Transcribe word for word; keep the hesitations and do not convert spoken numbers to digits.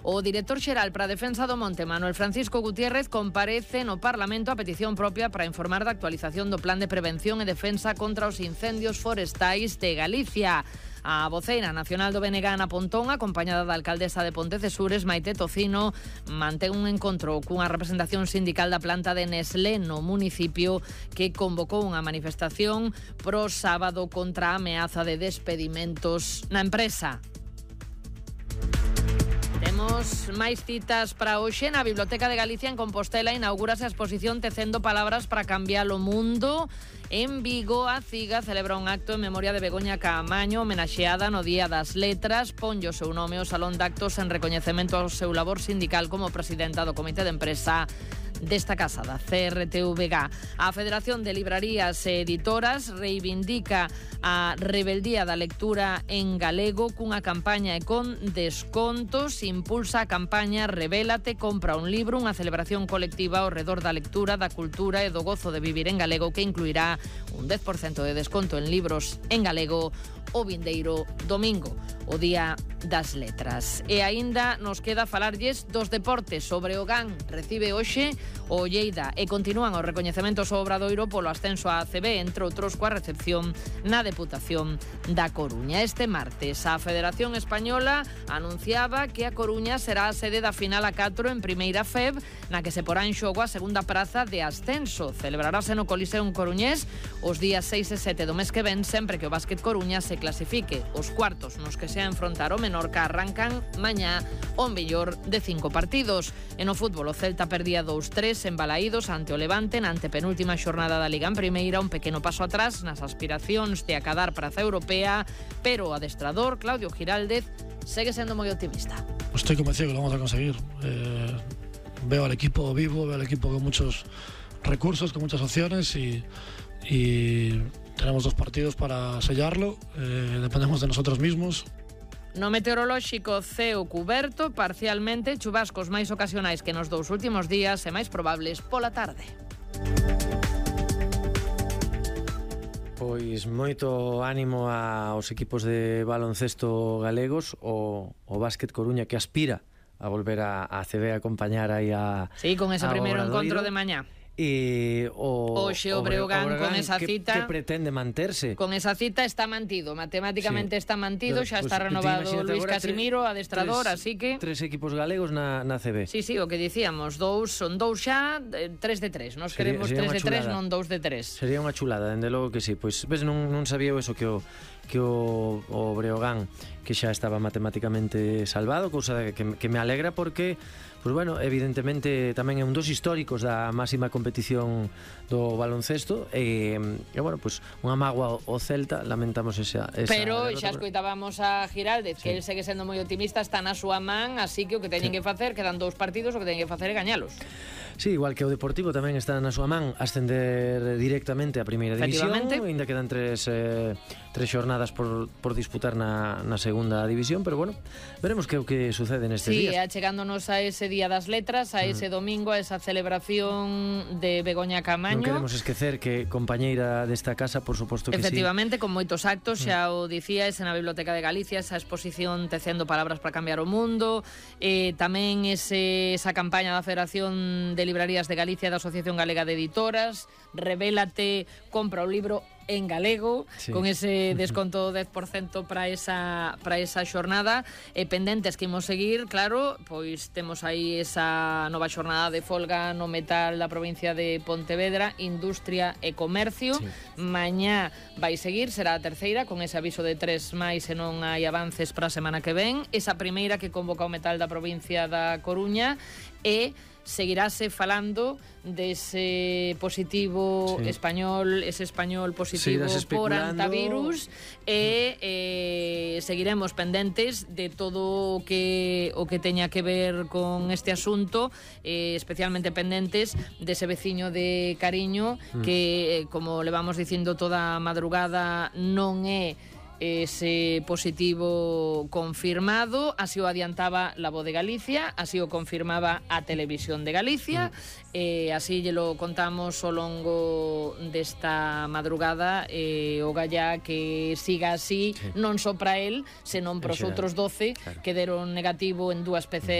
O director xeral para a defensa do monte, Manuel Francisco Gutiérrez, comparece no Parlamento a petición propia para informar da actualización do Plan de Prevención e Defensa contra os Incendios Forestais de Galicia. A voceira nacional do B N G, Ana Pontón, acompañada da alcaldesa de Pontecesures, Maite Tocino, mantén un encontro cunha representación sindical da planta de Nestlé no municipio, que convocou unha manifestación pro sábado contra a ameaza de despedimentos na empresa. Temos máis citas para hoxe. Na Biblioteca de Galicia, en Compostela, inaugúrase a exposición Tecendo Palabras para Cambiar o Mundo. En Vigo, a CIGA celebra un acto en memoria de Begoña Caamaño, homenaxeada no Día das Letras. Ponlle o seu nome ao Salón de Actos en recoñecemento ao seu labor sindical como presidenta do Comité de Empresa desta casa da C R T V G. A Federación de Librarías e Editoras reivindica a rebeldía da lectura en galego cunha campaña e con descontos. Impulsa a campaña Rebélate, compra un libro, unha celebración colectiva ao redor da lectura, da cultura e do gozo de vivir en galego, que incluirá un dez por cento de desconto en libros en galego o vindeiro domingo, o Día das Letras. E aínda nos queda falarlles dos deportes. Sobre o G A N recibe hoxe o Lleida e continúan os recoñecementos ao Obradoiro polo ascenso á A C B, entre outros coa recepción na Deputación da Coruña. Este martes a Federación Española anunciaba que a Coruña será a sede da final a catro en Primeira F E B, na que se porá en xogo a segunda praza de ascenso. Celebrarase no Coliseum coruñés os días seis e sete do mes que ven, sempre que o Básquet Coruña se clasifique. Os cuartos nos que se a enfrontar o Menorca arrancan mañá o mellor de cinco partidos. En o fútbol, o Celta perdía dous tres en Balaídos ante o Levante na antepenúltima xornada da Liga en Primeira, un pequeno paso atrás nas aspiracións de acadar praza europea, pero o adestrador Claudio Giraldez segue sendo moi optimista. Estoy convencido que lo vamos a conseguir. Eh, veo al equipo vivo, veo al equipo con muchos recursos, con muchas opciones y, y tenemos dos partidos para sellarlo. Eh, dependemos de nosotros mismos. No meteorolóxico, ceo cuberto, parcialmente, chubascos máis ocasionais que nos dous últimos días e máis probables pola tarde. Pois moito ánimo aos equipos de baloncesto galegos, o, o Básquet Coruña, que aspira a volver a, a C B a acompañar aí a Sí, con ese primeiro encontro de mañá. E o Oxe o Breogán con esa que, cita que pretende manterse. Con esa cita está mantido, matemáticamente sí. está mantido, xa pues, está renovado Luis agora, Casimiro, tres, adestrador, tres, así que tres equipos galegos na, na C B. Sí, sí, o que dicíamos, dous son dous xa, tres de tres. Nos sería, queremos sería tres de tres, non dous de tres. Sería unha chulada, dende logo que sí. Pois ves, non, non sabía eso que o que o, o Breogán, que xa estaba matemáticamente salvado, cousa que, que me alegra porque, pois bueno, evidentemente tamén é un dos históricos da máxima competición do baloncesto e, e bueno, pois unha mágoa o Celta, lamentamos esa, esa pero derrota, xa escoitábamos a Giraldez, sí. que el segue sendo moi optimista, está na súa man, así que o que teñen sí. que facer, quedan dous partidos, o que teñen que facer é gañalos. Sí, igual que o Deportivo tamén está na súa man ascender directamente a Primeira División, ainda quedan tres eh, tres xornadas por, por disputar na, na Segunda División, pero bueno, veremos que o que sucede nestes sí, días. Sí, chegándonos a ese Día das Letras, a ese mm. domingo, a esa celebración de Begoña Caamaño. Non queremos esquecer que compañeira desta casa, por suposto que efectivamente, sí. con moitos actos, xa mm. o dicías, na Biblioteca de Galicia, esa exposición Tecendo Palabras para Cambiar o Mundo, eh, tamén ese, esa campaña da Federación de Librarías de Galicia, da Asociación Galega de Editoras, Rebélate, compra o libro en galego, sí. con ese desconto dez por cento para esa para esa xornada, e pendentes que imos seguir, claro, pois temos aí esa nova xornada de folga no metal da provincia de Pontevedra, Industria e Comercio. Sí. Mañá vai seguir, será a terceira, con ese aviso de tres máis se non hai avances para a semana que ven. Esa primeira que convoca o metal da provincia da Coruña, e seguirase falando dese positivo sí. español, ese español positivo por antivirus, e eh, seguiremos pendentes de todo o que o que teña que ver con este asunto, eh, especialmente pendentes dese veciño de Cariño mm. que, eh, como le vamos dicindo toda a madrugada, non é ese positivo confirmado, así o adiantaba La Voz de Galicia, así o confirmaba a Televisión de Galicia, mm. eh, así lle lo contamos ao longo desta madrugada, eh, o galla que siga así, sí. non só para el, senón para os outros doce, claro. que deron negativo en dúas P C R